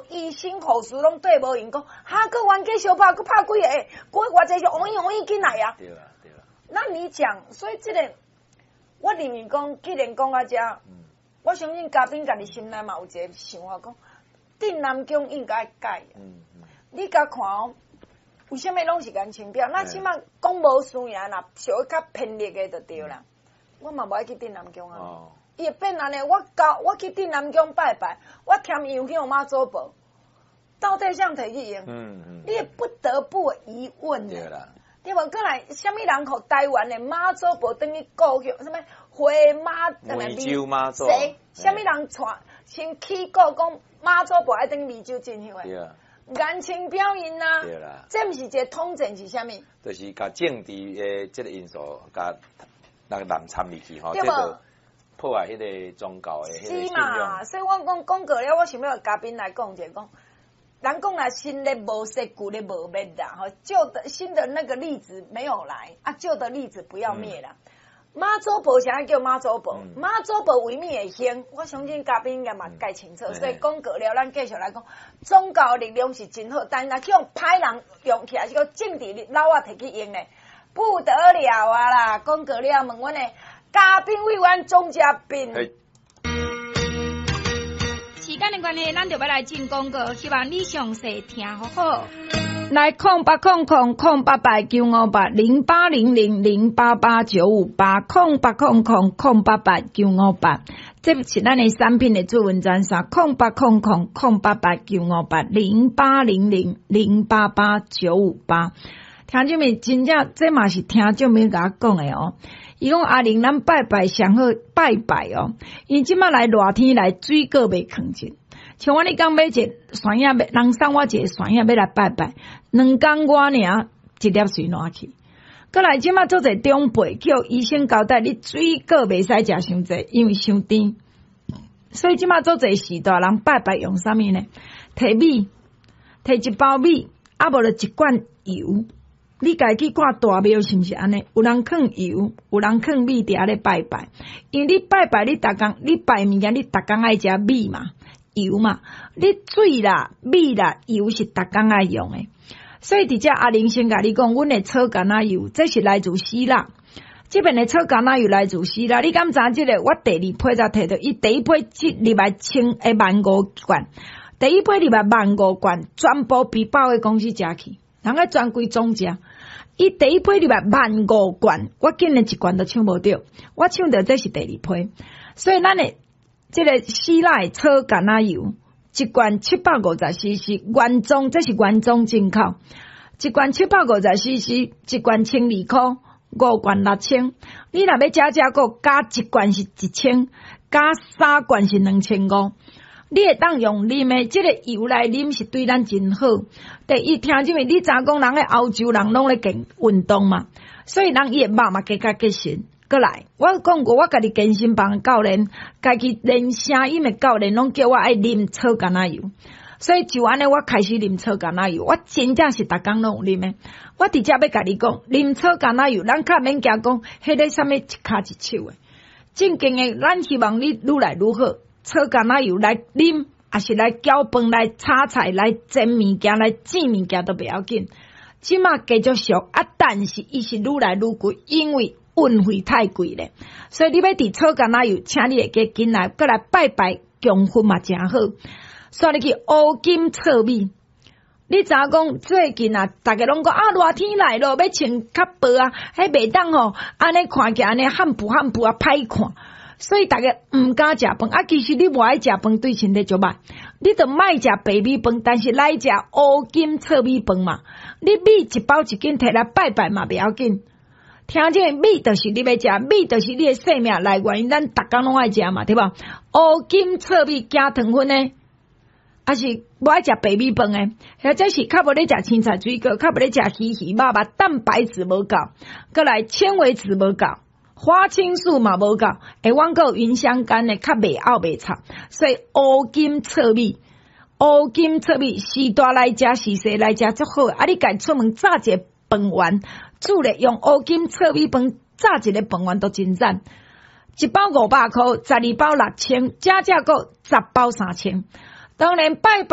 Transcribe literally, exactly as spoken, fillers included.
醫生護士攏綴無閒，講哈，閣冤家相拍，閣拍幾个，閣偌濟是王伊王伊緊來啊！對啊，對啊。那你講，所以這個我認為講，既然講到遮，我相信嘉賓家己心內嘛有一個想法，講鎮南宮應該改。嗯嗯。你共看哦，為啥物攏是顏清標？那起碼講無輸贏啦，屬於較偏激的就對啦。我嘛無愛去鎮南宮啊。伊會變按呢，我到我去鎮南宮拜拜，我添油香媽祖婆，到底啥提去用？嗯嗯。你會不得不疑問。對啦。對無？閣來，啥物人予台灣的媽祖婆轉去故鄉？啥物回媽？湄洲媽祖。誰？啥物人帶先起鼓講媽祖婆愛轉湄洲進香的？對啊。顏清標𪜶啊。對啦。這毋是一個統戰是啥物？就是共政治的這個因素，共那個人參入去吼，這個破壞彼個宗教的。是嘛？所以我講講過了，我想欲嘉賓來講者講，人講啦，新的無說，舊的無滅啦，吼，舊的新的那個例子沒有來啊，舊的例子不要滅啦。媽祖婆啥叫媽祖婆？媽祖婆為物會興？我相信嘉賓應該嘛蓋清楚。所以講過了，咱繼續來講，宗教力量是真好，但若去予歹人用起來，是講政治老仔提去用咧，不得了啊啦！講過了，問阮的嘉賓委員鍾嘉賓。時間的關係，咱就欲來進廣告，希望你詳細聽好好。來空八空空空八八九五八零八零零零八八九五八空八空空空八八九五八，這是咱的產品的主文專線空八空空空八八九五八零八零零零八八九五八。聽眾們真正這嘛是聽眾們共我講的哦。伊講阿玲，咱拜拜上好拜拜哦，因這馬來熱天來水果袂囥質。像我你講買一個蒜仔，人送我一个蒜仔欲來拜拜，兩工外爾一粒隨爛去。閣來這馬足濟長輩叫醫生交代你水果袂使食傷濟，因為傷甜。所以這馬足濟時代人拜拜用啥物呢？提米，提一包米，啊無就一罐油。你家去看大廟是毋是按呢？有人囥油，有人囥米佇遐咧拜拜。因為你拜拜，你逐工你拜物件，你逐工愛食米嘛、油嘛。你水啦、米啦、油是逐工愛用的。所以佇遮阿玲先共你講，阮的草橄欖油，這是來自希臘。這邊的草橄欖油來自希臘。你敢知這個？我第二批才提著，伊第一批這入來千一萬五罐，第一批入來萬五罐，全部被百貨公司食去，人家專櫃總食。伊第一批入來萬五罐，我竟然一罐都搶無著，我搶著這是第二批。所以咱的這個希臘的草橄欖油，一罐七百五十 C C，原裝這是原裝進口，一罐七百五十 C C，一罐千二箍，五罐六千。你若欲加加閣加一罐是一千，加三罐是兩千五。你會當用啉的，這個油來啉是對咱真好。第一，聽這邊你知影講人咧歐洲人攏咧健運動嘛，所以人伊的肉嘛加較結實。閣來，我講過，我家己健身房教練，家己練聲音的教練，攏叫我愛啉草橄欖油。所以就按呢，我開始啉草橄欖油，我真正是逐工攏有啉的。我直接欲共你講，啉草橄欖油，咱較免驚講，彼个啥物一跤一手的。正經的，咱希望你愈來愈好。草橄欖油來啉，抑是來攪飯、來炒菜、來煎物件、來煎物件都袂要緊。這馬加足俗啊，但是伊是愈來愈貴，因為運費太貴咧。所以你欲佇草橄欖油，請你會記緊來，閣來拜拜供佛嘛誠好。煞入去烏金糙米，你知影講最近啊，逐家攏講啊，熱天來咯，欲穿較薄啊，彼袂當吼，按呢看起來按呢汗布汗布啊，歹看。所以逐家毋敢食飯啊，其實你無愛食飯對身體足歹，你就莫食白米飯，但是來食烏金糙米飯嘛。你米一包一斤提來拜拜嘛，袂要緊。聽這個米就是你欲食，米就是你的生命來源，咱逐工攏愛食嘛，對無？烏金糙米加糖分的，抑是無愛食白米飯的，或者是較無咧食青菜水果，較無咧食魚魚肉肉，蛋白質無夠，閣來纖維質無夠。花青素嘛無夠，會阮閣有芸香苷的，較袂漚袂臭，所以烏金糙米，烏金糙米序大來食，序細來食足好。啊，你家出門炸一个飯圓，煮咧用烏金糙米飯炸一个飯圓都真讚。一包五百箍，十二包六千，加價購十包三千。當然拜拜。